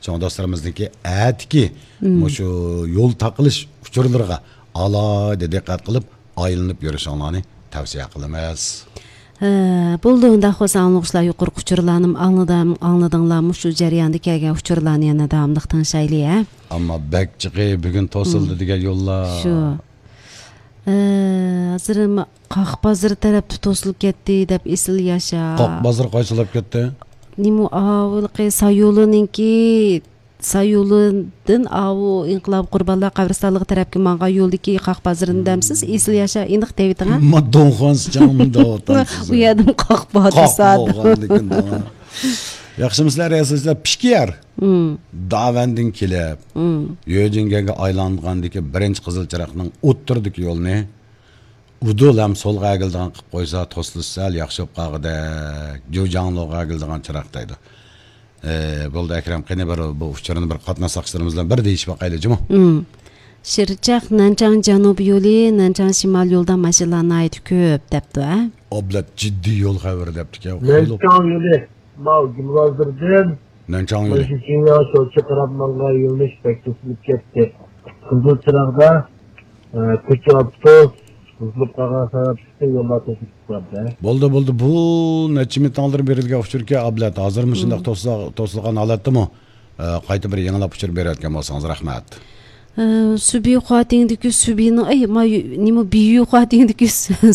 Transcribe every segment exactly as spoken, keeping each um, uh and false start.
چوڭ دوستلىرىمىزنىڭكى ئەتىكى مۇشۇ يول تاقىلىش ئۇچۇرلىرىغا ئالاھىدە دىققەت قىلىپ، ئايلىنىپ يۈرۈشۈڭلارنى تەۋسىيە قىلىمىز. ھە، بولدى، ئۇنداق بولسا ئاڭلىغۇچىلار يۇقىرىقى ئۇچۇرلارنىمۇ ئاڭلىدىم، ئاڭلىدىڭلار، مۇشۇ جەرياندا كەلگەن ئۇچۇرلارنى يەنە داۋاملىق تىڭشايلى، ھە؟ ئەمما بەك جىقى بۈگۈن توسۇلدى دېگەن يوللار. شۇ. ئە، ھازىر ما-، قاق بازىرى تەرەپتە توسۇلۇپ كەتتى دەپ ئېسىل ياشا. قاق بازىرى قايسى تەرەپ كەتتى؟ نېمە ئاۋۇلقى سايولىنىڭكى، سايولىدىن ئاۋۇ ئىنقىلاب قۇربانلار قەبرىستانلىقى تەرەپكە ماڭغان يولدىكى قاق بازىرىنى دەمسىز؟ ئېسىل ياشا ئېنىق دەۋېتىڭ ھە. ما دونخۇان سىچاڭمۇ دەۋاتامسىز؟ ئۇ يەردىمۇ قاق بار قاق دېسە. بولغاندىكىن. ياخشىمۇسىلەر، ياسىسىلەر، پىشكىيار. داۋەندىن كېلىپ، يۆجىنگەنگە ئايلانغاندىكى بىرىنچى قىزىل چىراغنىڭ ئوتتۇرىدىكى يولنى ئۇدۇل ھەم سولغا ئەگىلىدىغان قىلىپ قويسا، توسۇلۇشى سەل ياخشى بولۇپ قالغۇدەك. جۇجاڭلوغا ئەگىلىدىغان چىراق دەيدۇ. ئى، بولدى ئەكرەم، قېنى بىر بۇ ئۇچۇرنى بىر قاتناش ساقچىلىرىمىز بىلەن بىر دېيىشىپ باقايلى جۇمۇ. شىرچاق نەنچاڭ جەنۇبىي يولى، نەنچاڭ شىمال يولىدا ماشىنىلار ناھايىتى كۆپ دەپتۇ ھە. ئابلەت جىددىي يول خەۋىرى دەپتىكەن. نەنچاڭ يولى، ماۋۇ گۈلبازىردىن نەنچاڭ يولى. ماشىنىغا شۇ چىقىراپ ماڭغان يۆنىلىش بەك توسۇلۇپ كەتتى. قىزىل چىراغدا، ئە، كوچا ئاپتوبۇس بۇزۇلۇپ قالغان سەۋەبلىكتىن يوللار توسۇلۇپ قالدى. بولدى، بولدى. بۇ نەچچە مىنۇت ئالدىن بېرىلگەن ئۇچۇركەن ئابلەت. ھازىر مۇشۇنداق توسۇلغان ھالەتتىمۇ، ئە، قايتا بىر يېڭىلاپ ئۇچۇر بېرىۋەتكەن بولسىڭىز رەھمەت. ئە، سۈبى خۇاتىڭدىكى سۈبىنىڭ، ئەي، ما، نېمە، بىيۈ خۇاتىڭدىكى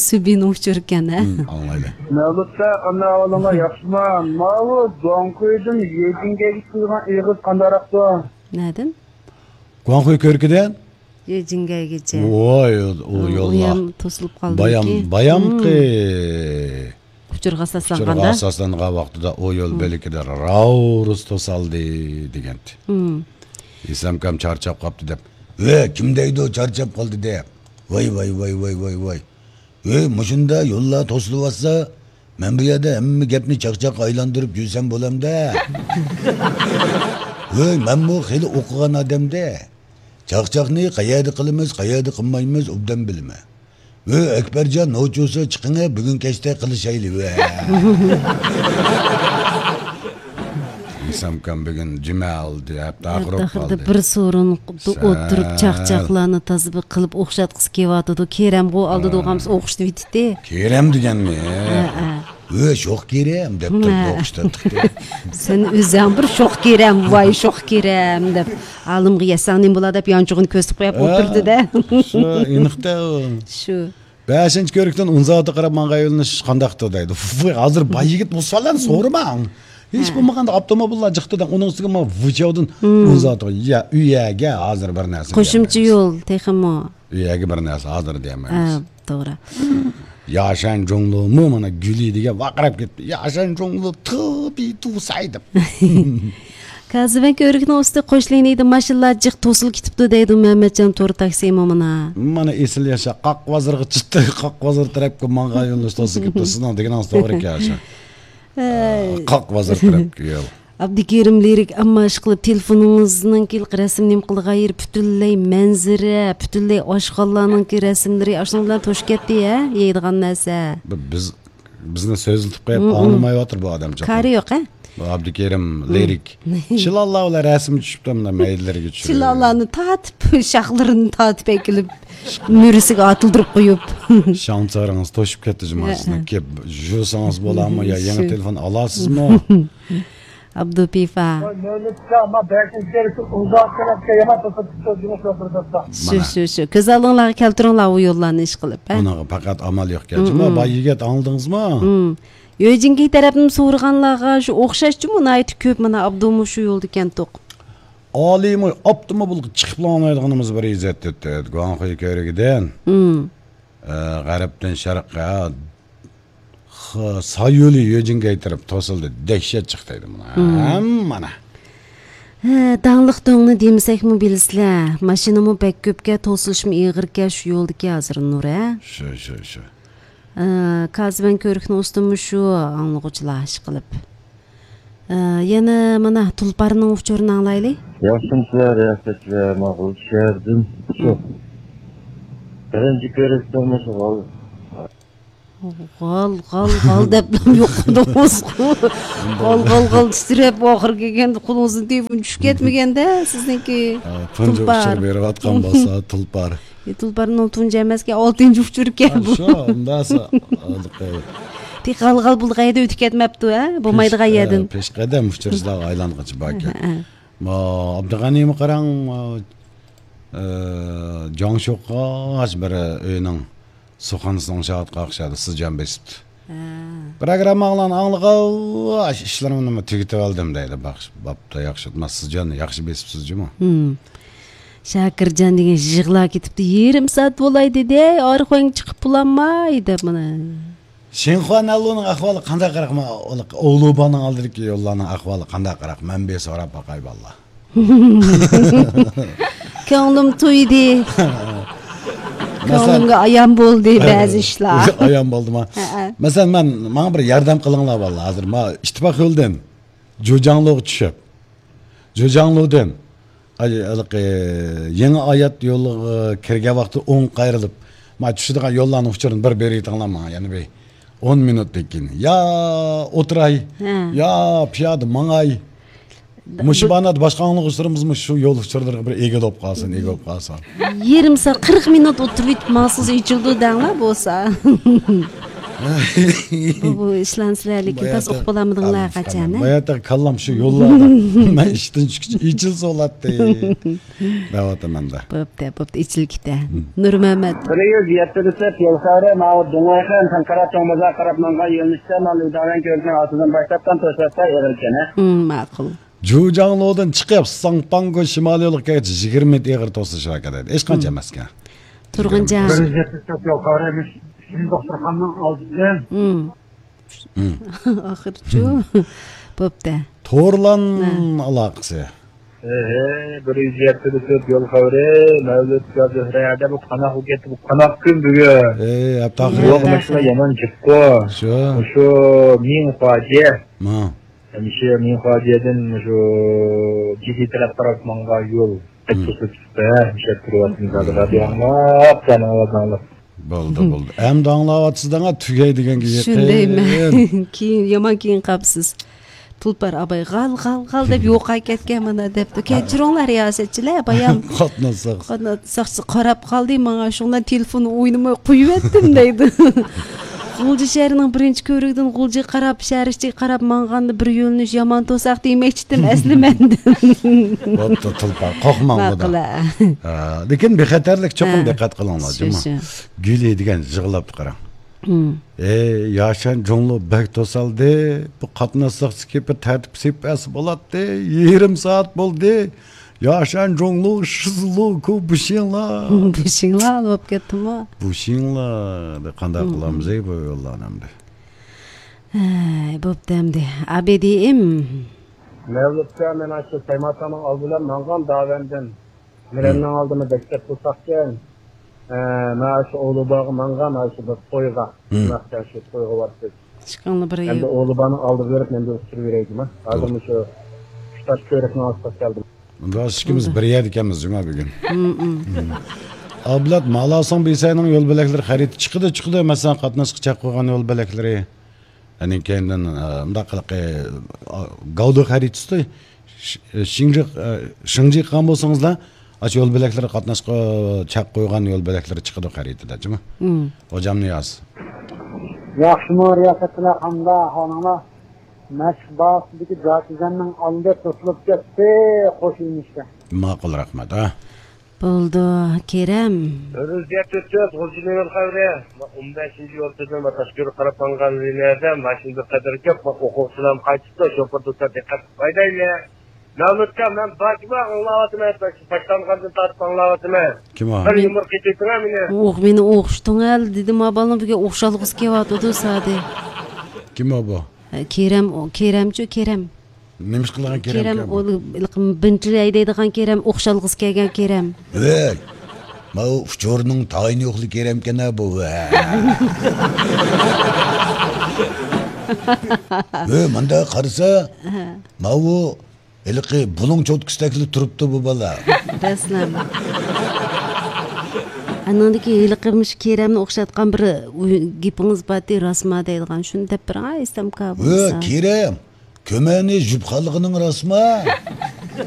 سۈبىنىڭ ئۇچۇركەن ھە. ئاڭلايلى. نۆۋەتتە قانداق ئەھۋالىڭلار، ياخشىما؟ ماۋۇ گۇاڭخۇيدىن يېجىنگەيگە كېلىدىغان ئېغىز قانداقراقتۇ؟ نەدىن؟ گۇاڭخۇي كۆركىدىن يېجىنگەيگىچە. ۋاي، ئۇ يول ئۇ يام توسۇلۇپ قالدىكى. بايام، بايامقى ئۇچۇرغا ئۇچۇرغا ئاساسلانغاندا. ئاساسلانغان ۋاقتىدا ئۇ يول بۆلىكىدە راۋرۇس توسالدى دېگەنتى. ئىسلامكام چارچاپ قاپتۇ دەپ. ۋە، كىم دەيدۇ چارچاپ قالدى دەپ؟ ۋاي، ۋاي، ۋاي، ۋاي، ۋاي، ۋاي. ۋەي، مۇشۇنداق يوللار توسۇلۇۋاتسا، مەن بۇ يەردە ھەممە گەپنى چاقچاققا ئايلاندۇرۇپ يۈرسەم بولامدا؟ ۋەي، مەنمۇ خېلى ئوقۇغان ئادەمدە. چاقچاقنى قەيەردە قىلىمىز، قەيەردە قىلمايمىز، ئوبدان بىلىمەن. ۋەي، ئەكبەرجان، نوچۇسى چىقىڭە، بۈگۈن كەچتە قىلىشايلى، ۋە. ئىسامكام بۈگۈن جۈمە ئالدى، ھەپتە ئاخىرى بولۇپ قالدى. بىر سورۇندا ئولتۇرۇپ، چاقچاقلارنى تازا بىر قىلىپ ئوخشاتقۇسى كېلىۋاتىدۇ. كېرەمغۇ ئالدىدا ئوخشىتىۋېتىتتى. كېرەم دېگەنمۇ؟ ھە، ھە. ۋە، شوخ كېرەم دەپ تۇرۇپ ئوخشىتىۋېتىتتى. سەن ئۆزۈڭ بىر شوخ كېرەم، ۋاي شوخ كېرەم دەپ. ئالىمغا يەتسەڭ نېمە بولا دەپ يانچۇقىنى كۆرسىتىپ قويۇپ ئولتۇردى-دە. شۇ، ئېنىقتا. شۇ. بەشىنچى كۆرۈكتىن ئۇنزاۋاتقا قاراپ ماڭغان يۆنىلىش قانداقتۇ دەيدۇ. ۋۇي، ھازىر باي يىگىت بۇ سوئاللارنى سورىماڭ. ھېچ بولمىغاندا ئاپتوموبىللار جىقتى دەڭ. ئۇنىڭ ئۈستىگە مانا ۋۇچياۋدىن ئۇنزاۋاتقا. يا، ئۆيەرگە ھازىر بىر نەرسە قوشۇمچە دېيەلمەيمىز. يول تېخىمۇ. ئۆيەرگە بىر نەرسە ھازىر دېيەلمەيمىز. ھە، توغرا. ياشەن جۇڭلۇمۇ مانا گۈلى دېگەن ۋارقىراپ كەتتى. ياشەن جۇڭلۇ تۇ بى تۇ ساي دەپ. كازىبەگ كۆۋرۈكنىڭ ئۈستى قوش لىنىيىدە ماشىنىلار جىق توسۇلۇپ كېتىپتۇ دەيدۇ مەمەتجان تور تاكسىمۇ مانا. مانا ئېسىل ياشا، قاق بازىرىغا چىقتى، قاق بازىرى تەرەپكە ماڭغان يۆنىلىش توسۇلۇپ كېتىپتۇ. سىزنىڭ دېگىنىڭىز توغرا ئىكەن، ياشا. ئە، قاق بازىرى تەرەپكە يول. ئابدۇكېرىم لىرىك، ئەمما ئىشقىلىپ تېلېفونىڭىزنىڭكى رەسىم نېمە قىلىدىغان يېرى پۈتۈنلەي مەنزىرە، پۈتۈنلەي ئاشخانىلارنىڭكى رەسىملىرى ئاشۇنىڭ بىلەن توشۇپ كەتتى ھە، يەيدىغان نەرسە. ب-، بىز بىزنى سۆزلىتىپ قويۇپ ئاڭلىمايۋاتىدۇ بۇ ئادەمچۇ. كارى يوق، ھە؟ بۇ ئابدۇكېرىم لىرىك. چىلانلار بىلەن رەسىم چۈشۈپتۇ، مۇنداق مەيدىلىرىگە چۈشۈرۈپ. چىلانلارنى تارتىپ، شاخلىرىنى تارتىپ ئەكېلىپ، مۈرىسىگە ئاتىلدۇرۇپ قويۇپ. شاڭچارىڭىز توشۇپ كەتتى جۇما سىزنىڭ. كېلىپ يۇسىڭىز بولامۇ يا يېڭى تېلېفون ئالاسىزمۇ؟ ئابدۇپىفا. شۇ، شۇ، شۇ. كۆز ئالدىڭلارغا كەلتۈرۈڭلار ئۇ يوللارنى ئىشقىلىپ، ھە؟ ئۇنىڭغا پەقەت ئامال يوقكەن. جۇما، باي يىگىت، ئاڭلىدىڭىزمۇ؟ يۆجىنگەي تەرەپنى سورىغانلارغا شۇ ئوخشاش جۇمۇ، ناھايىتى كۆپ، مانا، ئابدۇمۇ شۇ يولدا كەنتۇق. ئالىيمۇ ئاپتوموبىلغا چىقىپلا ئاڭلايدىغىنىمىز بىر ئىززەت دەپتۇ. گۇاڭخۇي كۆۋرۈكىدىن، ئە، غەربتىن شەرققە، خ-، سايولى يۆجىنگەي تەرەپ توسۇلدى. دەھشەت چىقتى دەيدۇ مانا. ھەممە مانا. ھە، داڭلىق دۆڭنى دېمىسەكمۇ بىلىسىلەر. ماشىنىمۇ بەك كۆپكە، توسۇلۇشمۇ ئېغىركە شۇ يولدىكى ھازىر نۇر، ھە؟ شۇ، شۇ، شۇ. ئە، كازىبەن كۆۋرۈكنىڭ ئۈستىمۇ شۇ، ئاڭلىغۇچىلار ئىشقىلىپ. ئە، يەنە مانا تۇلپارنىڭ ئۇچۇرىنى ئاڭلايلى. ياخشىمۇسىلەر، رىياسەتچىلەر، ماقۇل شەھەردىن. شۇ. بىرىنچى كۆرۈشتە مۇشۇ ھال. غال، غال، غال دەپلا يوقىدىڭىزغۇ. غال، غال، غال تىترەپ، ئاخىرى كەلگەندە قولىڭىزدىن تېلېفون چۈشۈپ كەتمىگەندە سىزنىڭكى. ھە، تۇنجى تۇلپار ئۇچۇر بېرىۋاتقان بولسا، تۇلپار. ئى، تۇلپارنىڭ تۇنجى ئەمەسكەن، ئالتىنچى ئۇچۇركەن بۇ. شۇ، ئۇنداقسا، تېخى غال، غال بولدى، قەيەردە ئۆتۈپ كەتمەپتۇ، ھە؟ بولمايدىغان يەردىن. پېش قەدەم ئۇچۇرلارغا ئايلانغىچە باركەن. ھە، ھە. ما، ئابدۇغەنىمۇ قاراڭ، ئە، جاڭشۇققا بىر ئۆينىڭ سۇخانىسىنىڭ شاھىتقا ئوخشايدۇ، سىزجان بېسىپتۇ. ھە. پروگرامماڭلارنى ئاڭلىغاچ، ئىشلىرىمنىمۇ تۈگىتىۋالدىم دەيدۇ. باخ-، بوپتۇ، ياخشى. ما، سىزجان ياخشى بېسىپسىزجۇمۇ؟ ھىم. شاكىرجان دېگەن يىغلاپ كېتىپتۇ. يېرىم سائەت بولاي دېدى. ئارخۇڭ چىقىپ بولالماي دەپ مانا. شىنخۇا نەنلۇنىڭ ئەھۋالى قانداق قاراق؟ ما، ئوۋلۇبانىڭ ئالدىدىكى يوللارنىڭ ئەھۋالى قانداق قاراق؟ مەن بىر سوراپ باقاي، بالىلار. كۆڭلۈم تويدى. مەسىلەن، كۆڭلۈمگە ئايان بولدى بەزى ئىشلار. ئايان بولدىما؟ ھەئە. مەسىلەن، مەن، ماڭا بىر ياردەم قىلىڭلار، بالىلار. ھازىر ما ئىتتىپاق يولىدىن جۇجاڭلۇغا چۈشۈپ، جۇجاڭلۇدىن، ئاي، ھېلىقى يېڭى ئايات يولىغا كىرگەن ۋاقتىدا ئوڭ قايرىلىپ، ما چۈشىدىغان يوللارنىڭ ئۇچۇرىنى بىر بېرىۋېتىڭلار ماڭا، يەنە بىر ئون مىنۇتتىن كېيىن. يا ئولتۇراي، ھە. يا پىيادە ماڭاي. مۇشۇ بۇ بانادا باشقا ئاڭلىغۇچىلىرىمىزمۇ شۇ يول ئۇچۇرلىرىغا بىر ئىگە بولۇپ قالسۇن، ئىگە بولۇپ قالسۇن. يېرىم سائەت، قىرىق مىنۇت ئولتۇرۇۋېتىپ ماڭسىز ئېچىلىدۇ دەڭلار بولسا. بۇ، بۇ ئىشلارنى سىلەر لېكىن تاس ئۇقۇپ بولالمىدىڭلار قاچان، ھە؟ باياتاق كاللام شۇ يوللاردا. مەن ئىشتىن چىققىچە ئېچىلسا بولاتتى. دەۋاتىمەن-دە. بوپتۇ، بوپتۇ، ئېچىلگىتە. نۇرمەمەت. بىر يۈز يەتتە دېسەپ يول خەۋىرى، ماۋۇ دۇڭۋەيخەن خەنقەرە چوڭ بازار قاراپ ماڭغان يۆنىلىشتە، ماۋۇ لىداۋەن كۆۋرۈكىنىڭ ئاستىدىن باشلاپ تام توساتتا ئېغىر ئىكەن، ھە؟ مم، ماقۇل. جۇجاڭلۇدىن چىقىپ، ساڭپاڭگو شىمالىي يولغا كەلگەچ يىگىرمە مىنۇت ئېغىر توسۇلۇش ھەرىكەت ئەيدى. ھېچقانچە ئەمەسكەن. تۇرغۇنجان. بىر يۈز يەتتە دېسەپ يول خەۋىرى، مۇشۇ دوختۇرخانىنىڭ ئالدىدىن. مم. مم. ئاخىرچۇ. بوپتۇ. تورلان ئالاقىسى. ئېھى، بىر يۈز يەتتە دېسەپ يول خەۋىرى، مەۋلۇت يا زۆھرە دە بۇ قاناق بولۇپ كەتتى، بۇ قاناق كۈن بۈگۈن. ئېي، ھەپتە ئاخىرى. يول ماشىنا يامان جىققۇ. شۇ. شۇ مىڭخۇاجيې. ما. مۇشۇ مىڭخۇاجيېدىن مۇشۇ جىدى تەرەپ قاراپ ماڭغان يول. مم. قېتىپ توسۇلۇپ چىقتى، ھە، مۇشۇ يەردە تۇرۇۋاتىمىز ھازىر. رادىيو ئاڭلاپ، سەن ئاۋازىڭنى ئاڭلاپ. بولدى، بولدى. ئەمدى ئاڭلاۋاتىسىز دەڭا، تۈگەي دېگەنگە يېقىن. شۇندايمەن. كېيىن، يامان كېيىن قاپسىز. تۇلپار ئاباي غال، غال، غال دەپ يوقاي كەتكەن مانا دەپتۇ. كەچۈرۈڭلار رىياسەتچىلەر، بايام. قاتناش ساقچىسى قاراپ قالدى ماڭا، شۇڭا تېلېفون ئوينىماي قويۇۋەتتىم دەيدۇ. غۇلجا شەھىرىنىڭ بىرىنچى كۆۋرۈكىدىن غۇلجىغا قاراپ، شەھەر ئىچىگە قاراپ ماڭغاندا بىر يۆنىلىش يامان توساق دېمەكچىدىم ئەسلى مەندىن. بوپتۇ، تۇلپار، قورقماڭ ماقۇل، ھە. ھە، لېكىن بىخەتەرلىك چوقۇم ھە. دىققەت قىلىڭلار، شۇ، جۇمۇ. شۇ. گۈلى دېگەن يىغلاپتۇ قاراڭ. ھىم. ئەي، ياشەن جۇڭلۇ بەك توسالدى. بۇ قاتناش ساقچىسى كېلىپ بىر تەرتىپ سېلىپ بەرسە بولاتتى. يېرىم سائەت بولدى. ياشەن جۇڭلۇ شىزلۇ كۇ بۇشىڭلا. بۇشىڭلا بولۇپ كەتتىمۇ؟ بۇشىڭلا. قانداق ھىم. قىلامىز ئەي بۇ يوللارنى ئەمدى؟ ھەي، بوپتۇ ئەمدى. ئابىدىم. مەۋلۇتكە مەن ئاشۇ سەيماتاننىڭ ئالدى بىلەن ماڭغان داۋەندىن. مىرەننىڭ ئالدىمۇ دەكتەپ تۇرساقكەن. ئە، مەن شۇ ئوۋلۇباغا ماڭغان، شۇ بىر تويغا. ھىم. شۇ تويغا بارسىز. ئىشقىڭنى بىر ئەمدى ئوۋلۇبانىڭ ئالدىغا بېرىپ، مەن بىر ئۇچۇر بېرەيدىما؟ ھازىر مۇشۇ ئۈچ تاش كۆۋرۈكنىڭ ئاستىغا كەلدىم. راست ئىككىمىز بىر يەردە ئىكەنمىز جۇما بۈگۈن. ھىم، ھىم. ئابلەت مالاسىڭ بىسەينىڭ يول بۆلەكلىرى خەرىتى چىقىدۇ، چىقىدۇ. مەسىلەن، قاتناشقا چەك قويغان يول بۆلەكلىرى. ئەنە كەينىدىن، ئە، مۇنداق قىلىقى، ئا، گاۋدۇ خەرىتىسى، ش-، شىڭجىق، ئە، شىڭجىق قىلغان بولسىڭىزلا، ئاشۇ يول بۆلەكلىرى قاتناشقا چەك قويغان يول بۆلەكلىرى چىقىدۇ خەرىتىدە، جۇمۇ. مم. خوجام نىياز. ياخشىمۇ رىياسەتچىلەر، قانداق ئەھۋالىڭلار؟ مەشىق باغچىسىدىكى جاكىزەننىڭ ئالدى توسۇلۇپ كەتتى، قوش يۆنىلىشتە. ماقۇل، رەھمەت، ھە. بولدى، كېرەم. ئۆزگەرتىۋېتىپ، غۇلجىنىڭ يول خەۋىرى. ئون بەشىنچى يول تۈزىنىڭ تاشكۆرۈپ قاراپ ماڭغان لىنىيەدە ماشىنا بىر قەدەر كۆپ، ئوقۇغۇچىلارمۇ قايتىپتۇ، شوپۇر دۇكان دىققەت بايدايلى. مەمۇتكا، مەن باجما ئاڭلاۋاتىمەن، باشلانغاندىن تارتىپ ئاڭلاۋاتىمەن. كىم ئۇ؟ بىر يۇمۇر قېتىۋېتىڭە مېنى. ئوخ، مېنى ئوخشىتىڭە دېدىم، ھا، بالام بۈگۈن ئوخشالغۇسى كېلىۋاتىدۇ سادى. كىم ئۇ بۇ؟ كېرەم، ئۇ، كېرەمچۇ، كېرەم. نېمە ئىش قىلغان كېرەم كېرەم، ئۇ، بىنتلەي دەيدىغان كېرەم، ئوخشالغۇسى كەلگەن كېرەم. ۋەي، ماۋۇ ئۇچۇرنىڭ تايىنى يوقلۇق كېرەمكەن-ھە بۇ، ۋە. ۋەي، مۇنداق قارىسا، ماۋۇ ھېلىقى بۇلۇڭ چوتكىسىدەكلا تۇرۇپتۇ بۇ بالا. رەسلەم. ئانىڭدىكى ھېلىقى مۇشۇ كېرەمنى ئوخشاتقان بىر ئۇ-، گېپىڭىز بارتى، راسما دەيدىغان، شۇنى دەپ بېرىڭ، ھە، ئىسلام ئاكا، ۋە بولسا. كېرەم، كۆمەنى جۈپ خالىغىنىڭ راسما؟